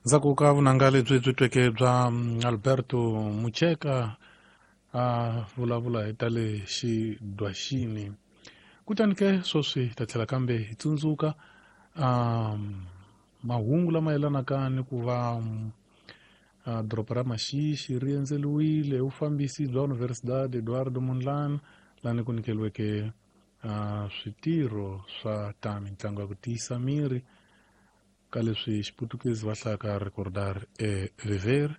Ndzhaku ka vunanga lebyi byi tweke bya Alberto Mucheka a vulavula hi ta le xidwaxini. Kutani ke sweswi hi ta tlhela kambe hi tsundzuka mahungu lama yelanaka ni ku va doroba ra Maxixi ri endzeliwile hi vufambisi bya Universidade Eduardo Mondlane lani ku nyikeliweke switirho swa ta mitlangu ya ku tiyisa miri ka leswi xiputukezi va hlayaka recordar e viver.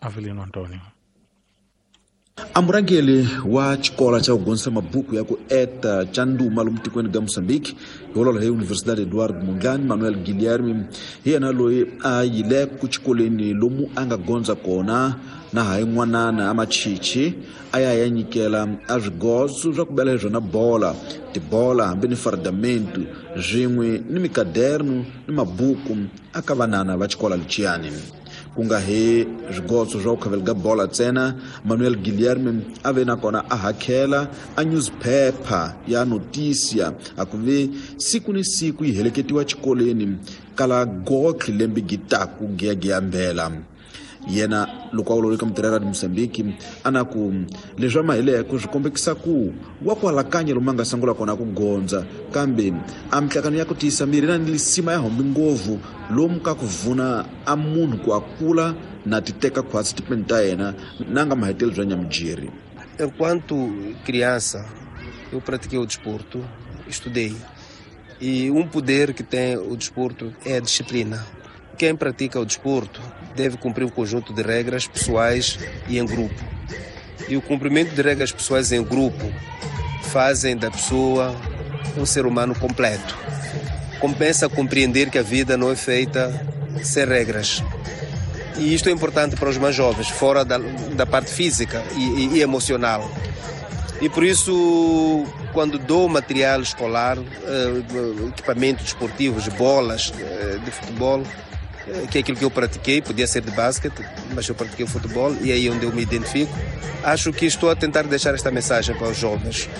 Avelino Antonio. A murhangeri wa xikolo xa ku gonisa mabuku ya ku eta xa ndhuma lomu tikweni ga Mozambique hi vulavula hi Universidade Eduardo Mondlane Manuel Guilherme hi yena loyi a yile ku xikolweni lomu a nga gondza kona na hayi n'wanana a machichi a ya ya nyikela a swigozo swa ku bela hi swona bola tibola hambi ni fardamentu swin'we ni mikaderno ni mabuku a ka vanana va xikola lexiyani. Ku nga he swigotso swa ku khaveleka bola ntsena, Manuel Guilherme a ve na kona a hakhela a newspaper ya Notícia a ku ve siku ni siku yi heleketiwa xikolweni kala gotlhe lembe gitaku giyagiya mbela. Yena loko a vulavula eka mutirhela ra Mozambique a na ku leswi a mahileko swi kombekisa ku wa kwalakanya lomu a nga sungula kona ku gondza kambe a mihlakano ya ku tiyisa miri na ni lisima ya hombi ngopfu lomu ka ku vuna a munhu ku a kula na ti teka khwatsi tipeni ta yena na nga mahetelo bya nyamujeri. Enquanto criança, eu pratiquei o desporto, estudei. E um poder que tem o desporto é a disciplina. Quem pratica o desporto deve cumprir um conjunto de regras pessoais e em grupo. E o cumprimento de regras pessoais em grupo fazem da pessoa um ser humano completo. Compensa compreender que a vida não é feita sem regras. E isto é importante para os mais jovens, fora da parte física e emocional. E por isso, quando dou material escolar, equipamentos desportivos, bolas de futebol, que é aquilo que eu pratiquei, podia ser de basquete, mas eu pratiquei o futebol e é aí onde eu me identifico. Acho que estou a tentar deixar esta mensagem para os jovens.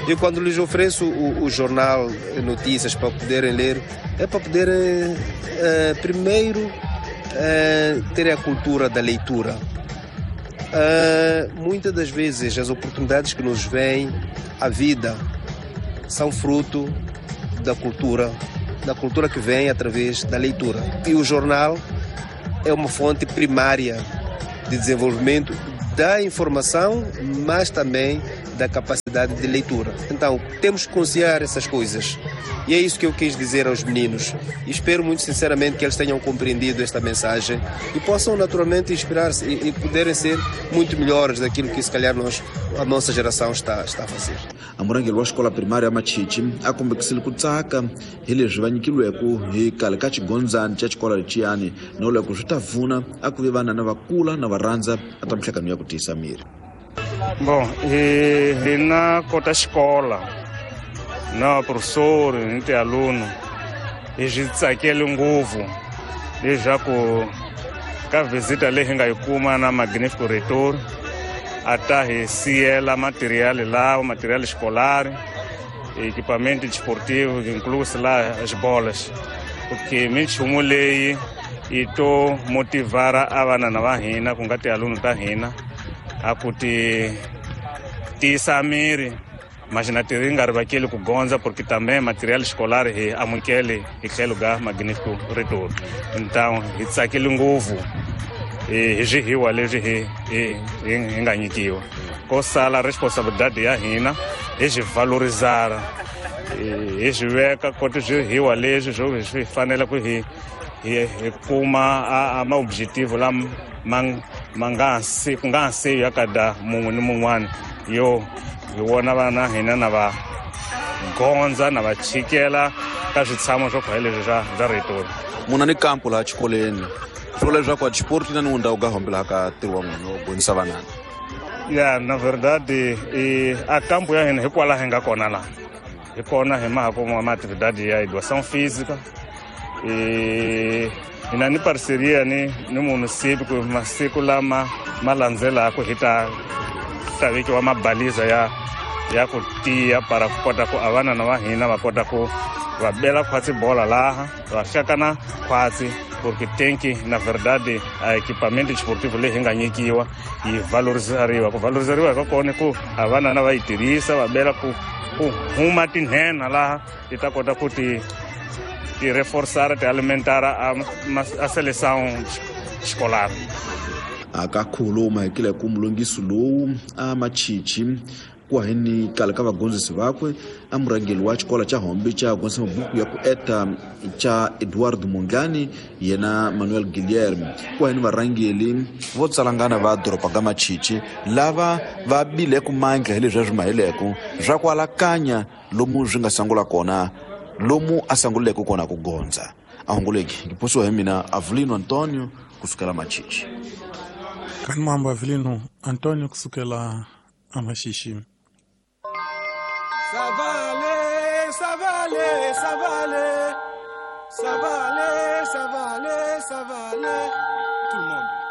E quando lhes ofereço o jornal Notícias para poderem ler, é para poderem, primeiro, ter a cultura da leitura. Muitas das vezes as oportunidades que nos vêm à vida são fruto da cultura que vem através da leitura. E o jornal é uma fonte primária de desenvolvimento da informação, mas também da capacidade de leitura. Então, temos que conciliar essas coisas. E é isso que eu quis dizer aos meninos. E espero muito sinceramente que eles tenham compreendido esta mensagem e possam naturalmente inspirar-se e poderem ser muito melhores daquilo que se calhar a nossa geração está a fazer. A murhangeri wa xikola primária Machichi a kombekisile ku tsaka hi leswi va nyikiweke hi khale ka xigondzani xa xikola lexiyani no loko swi ta pfuna a ku ve vanana va kula na va rhandza a ta mihlangano ya ku tiyisa miri. Bom, hina kota xikola na professor ni tialuno hi swi tsakele ngopfu leswaku ka visita leyi hi nga yi kuma na Magnífico Reitor a ta hi siyela material lawa material escolar, equipamento desportivo, incluso lá as bolas, porque minchumu leyi yi to motivara a vanana va hina ku nga tialuno ta hina a ku ti tiyisa miri mas na ti ri nga rivakeli ku gondza porque também material escolar hi amukele hi tlhelo ga Magnífico Reitor. Então hi tsakile ngopfu hi swihiwa leswi hi nga nyikiwa. Ko sala responsabilidade ya hina hi swi valorizara, hi swi veka koti swihiwa leswi swo swi fanele ku hi kuma a ma objetivo lama ma nga si ku nga si ya kada mun'we ni mun'wana yo hi vona vana hina na va gondza na va chikela ka switshamo swo khwaya leswi swa Reitor. Muna ni kampo laha xikolweni swo leswaku a xipoti na ni ndhawu ka hombela ka ntirho wa n'wina wo gonisa vanana. Ya, na verdade a kampo ya hina hikwalaho hi nga kona laha hi kona hi maha kuma ma atividade ya educação física e hina ni parceria ni município ku masiku lama ma landzelaka hi ta vekiwa mabaliza ya ku tiya para ku kota ku a vanana va hina va kota ku va bela khwatsi bola laha va hlakana khwatsi Porque tem que, na verdade, a equipamento desportivo leyi hi nga nyikiwa yi valorizariwa. Ku valorizariwa ka kona ku a vanana va yi tirhisa, va bela ku ku huma tinhenha laha ti ta kota ku ti ti reforçar, ti alimentar a seleção escolar. Akakhuluma hikile ku mulungisi lowu a machichi kuheni kala ka vagondzisi vakwe a murhangeri wa xikolo xa hombe xa gondzisa mabuku ya ku eta xa Eduardo Mondlane yena Manuel Guilherme, kuheni varhangeri vo tsalangana va doroba ga Machichi lava va bileke mandla hi leswi swi mahileko swa ku alakanya lomu swi nga sangula kona, lomu a sanguleke kona ku gondza. A hunguleki ngiposiwa hi mina Avelino Antonio kusukela Machichi. Kani mambo Avelino Antonio kusukela Amaxixi. Ça va aller, ça va aller, ça va aller. Ça va aller, ça va aller, ça va aller. Tout le monde.